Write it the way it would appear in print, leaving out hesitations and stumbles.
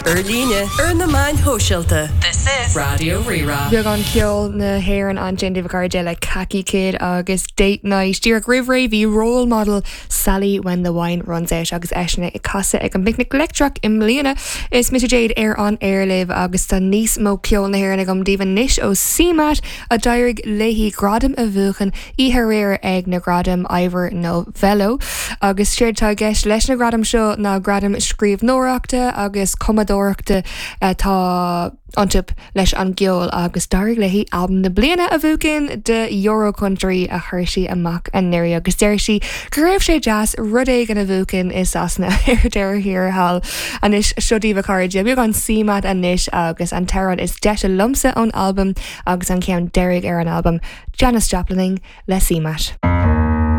Ar líne, ar na meáin shóisialta. This is Raidió Rí-Rá. Beagán ceol na hÉireann ansin daoibh a chairde le Khaki Kid agus Date Night. Díreach roimh ré bhí Role Model Sally When the Wine Runs Out agus eisean ag casadh ag an bPicnic Leictreach i mbliana. Is mise Jade ar an aer libh agus tá níos mó ceol na hÉireann agam daoibh anois ó CMAT a d'éirigh léi gradam a bhuachan oíche aréir ag na Gradaim Ivor Novello. Agus séard atá i gceist leis na gradaim seo ná gradaim scríbhneoireachta agus cumadóireachta atá iontu leis an gceol agus d'éirigh léi Albam na Bliana a bhuachan do Euro Country a chuir sí amach anuraidh agus deir sí go raibh sé deas rud éigin a bhuachan i Sasana ar deireadh thiar thall. Anois seo daoibh a chairde, beagán CMAT anois agus an t-amhrán is deise liomsa ón albam agus an ceann deiridh ar an albam, Janis Joplining le CMAT.